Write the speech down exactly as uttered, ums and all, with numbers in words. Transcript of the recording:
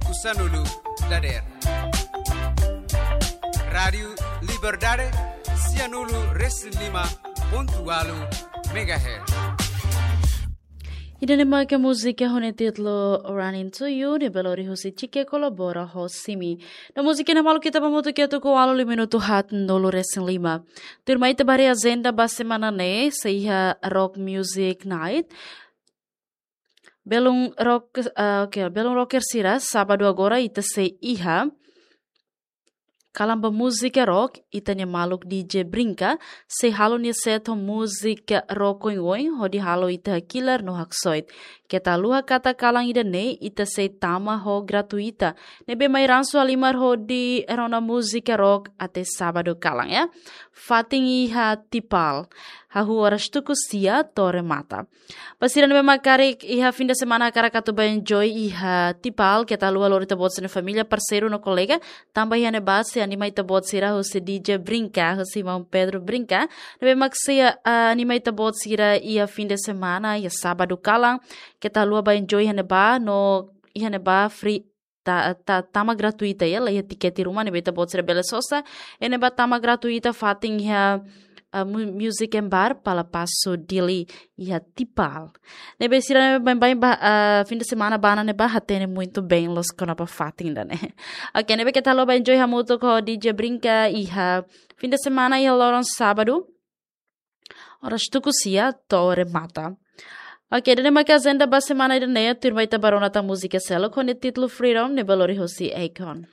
ku sanulu dadeer. Rádiu Liberdade, sianulu resin lima pontu ualu megahertz. Ida-ne'e maka múzika ho nia títulu Running to You, ne'ebé lori husi Chike kolabora ho Simi. No múzika ne'e maluk ita ba hamutuk iha tuku ualu liu minutu haatnulu resin lima. Tuirmai ita ba haree ajenda ba semana ne'e, sei iha Rock Music Night. Belun rock, ah, oke, belun rocker sira, sábadu agora ita sei iha kalan ba múzika rock, ita-nia maluk D J Brinka, sei halo nia set ho múzika rock oin-oin, hodi halo ita hakilar no haksoit. Keta haluha katak kalan ida-ne'e, ita sei tama ho gratuita. Ne'ebé mai ransu halimar hodi rona múzika rock até sábadu kalan, ya. Fatin iha Tipal. Hahú oras tuku sia to'o remata. Ba sira ne'ebé mak karik iha fim de semana hakarak atu ba enjoy iha Tipal, keta haluha lori ita-boot sira-nia família, parseiru no kolega, tanba iha ne'ebá sei anima ita-boot sira husi D J Brinka, husi maun Pedro Brinka, ne'ebé mak sei, ah, anima ita-boot sira iha fim de semana, iha sábadu kalan, keta haluha ba enjoy iha ne'ebá, no iha ne'ebá free, ta, ta, tama gratuita, ya, la iha tikete ruma, ne'ebé ita-boot sira bele sosa, iha ne'ebá tama gratuita fatin iha, ah, mu-, Music and Bar, Palapaso, Dili, iha Tipal. Ne'ebé sira ne'ebé baibain ba, ah, fim de semana ba ona ne'ebá hatene muito bem loos kona-ba fatin ida-ne'e. Oke, ne'ebé keta haluha ba enjoy hamutuk ho D J Brinka iha fim de semana iha loron sábadu, oras tuku sia to'o remata. Oke, ida-ne'e maka ajenda ba semana ida-ne'e, tuirmai ita ba rona tan múzika seluk ho nia títulu Freedom, ne'ebé lori husi Akon.